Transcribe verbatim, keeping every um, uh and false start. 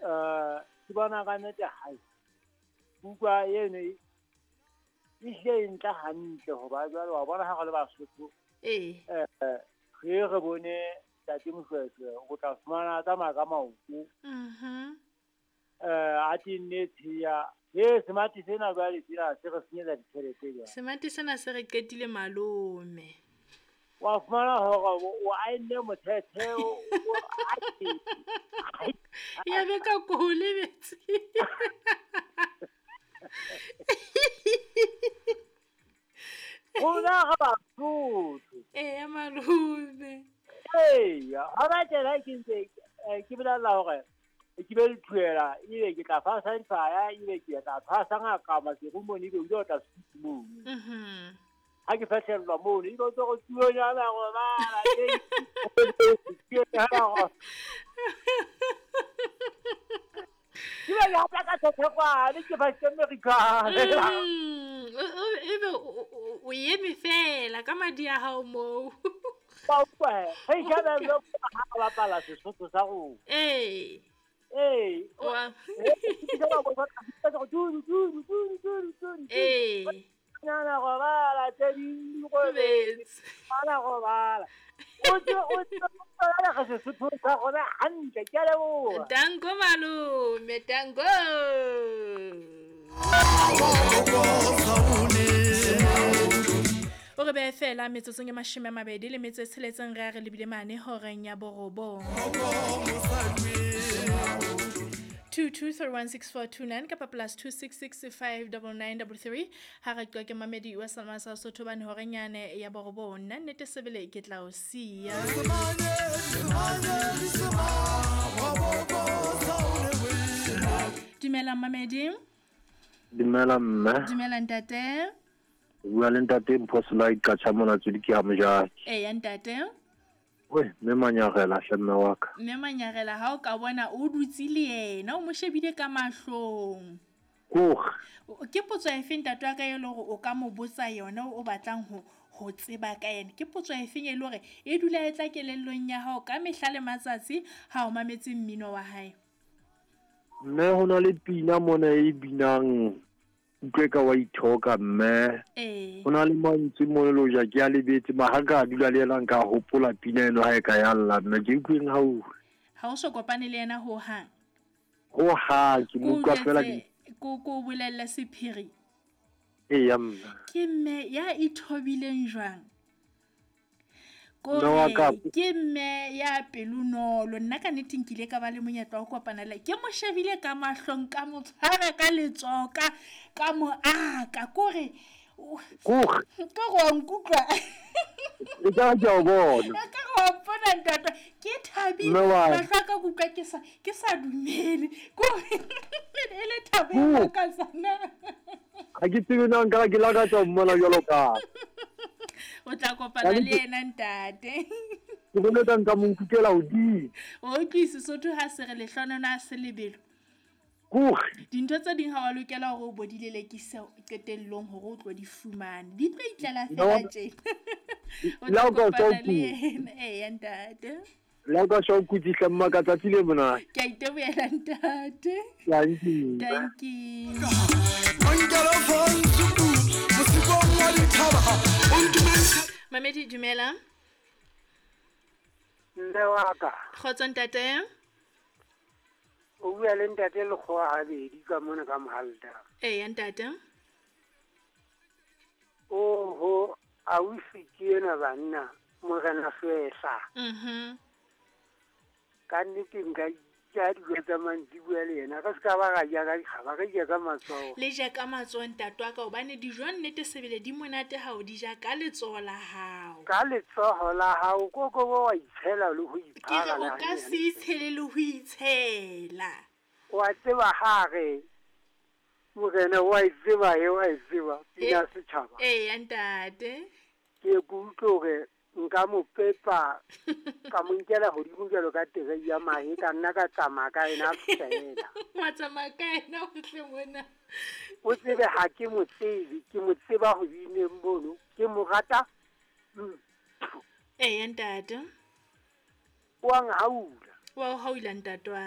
Eh ke bona ka nnete hae. Buka eno e hlile e ntle hantle hoba jwale wa bona ha re le Basotho. Ee. Eh re re bone Ntate Moshoeshoe o tla fumana a tsamaya ka maoto. Mhm. Eh a tenne tshiya. He semati sena jwale sena se re senyetsa ditjhelete jwale. Semati sena se re qetile malome. Wa fumana hore o aenne mothethe o ya be ka ko lebetse. Rona re Basotho. Eya malome. Eya, ha ba tjena ke ntse ke bolella hore ke be le thuela ebe ke tla fasa difaya ebe ke tla phasa ngaka maserumong ebe o ile o tla sutu mono. Mhm. Ha ke fihlellwa mono ebe o tlo re tsuonyana robala tsuonyana robala. Ke ba ya tla ka thekwane ke ba Amerika. Ebe o eme fela ka madi a hao moo. Ba utlwa he ke ba lo ha bapala Sesotho sa rona. Ee. Ee. Wa. Ee. Nyana robala tse ding robetse. Nyana robala. O tse o tse ga Sesotho sa rona hantle ke a leboha. Danko malome, danko. O re behe fela metsotsong e mashome a mabedi le metso e tsheletseng re a re lebile mane horeng ya borobong. two two three one six four two nine kapa plus two six six five nine nine three three ha re qwa ke mamedi wa Salma sa Sotho bane horeng yane ya borobong nna nnete sebele ke tla o siya. Dumela mamedi. Dumela mme. Dumela ntate. Bua le ntate Mpho Selai Qacha mona tswedi ke ha mojaki. Eya ntate. We mme Manyarela hle mme wa ka. Mme Manyarela ha o ka bona o dutse le yena o mo shebile ka mahlong. Kore. Ke potso efe ntate wa ka e le hore o ka mo botsa yona o batlang ho ho tseba ka yena? Ke potso efe e le hore e dula e tla kelellong ya hao ka mehla le matsatsi ha o mametse mmino wa hae? Mme ho na le pina mona e binang utlwe ka wa ithoka mme. Ee. Ho na le mantswe mo le ja ke a lebetse ma ha ka dula le yena nka hopola pina eno ha e ka ya lla mme ke utlweng ha o. Ha o so kopane le yena ho hang? Ho hang ke mo utlwa fela ke ko ko bolella sephiri. Eya mme. Ke mme ya ithobileng jwang? Ko ke mme ya pelonolo nna ka nnete nkile ka ba le monyetla wa ho kopana le ke mo shebile ka mahlong ka mo tshwara ka letsoho ka ka mo aka kore kore ka go nkutlwa e ka ke o bona ka go mpona ntate ke thabile mahlo a ka kutlwa ke sa ke sa dumele kore e le thabo e ka sana ha ke tsebe na nka ke lakatsa ho mmona jwalo ka o tla kopana le yena ntate. Ke bona ka nka mo nkukela hodimo. O utlwise Sesotho ha se re lehlonono ha se lebelo. Kore. Dintho tse ding ha wa lokela hore o bo di lelekise qetellong hore o tlo di fumane. Di tlo itlela fela tjena. O tla kopana le yena. Eya ntate. Le ka sho kutsihla mma ka tsatsi le monate. Ke a itebohela ntate. Dankie. Dankie. Mamedi dumela. Mme wa ka. Kgotso ntate. O bua le ntate Lekgowa habedi ka mona ka Mohalta. Eya ntate. Oho, ausi ke ena banna, morena Fehla. Mhm. Ka nnete nka ja dijo tsa mantsiboya le yena ka se ka ba ra ja ka dikgaba re ja ka matsoho. Le ja ka matsoho ntate wa ka hobane dijo nnete sebele di monate ha o di ja ka letsoho la hao. Ka letsoho la hao koko bo wa itshela le ho iphara. Ke re o ka se itshele le ho itshela. Wa tseba ha re morena wa e tseba e wa e tseba pina setjhaba. Eya ntate. Ke ke utlwe hore nka mo pepa ka mo nkela hodimo jwalo ka terei ya mahe ka nna ka tsamaya ka ena fela. Wa tsamaya ka ena hohle mona. O tsebe ha ke mo tsebe, ke mo tseba ho bineng mono, ke mo rata. Eya ntate. Wa nhaula. Wa o haula ntate wa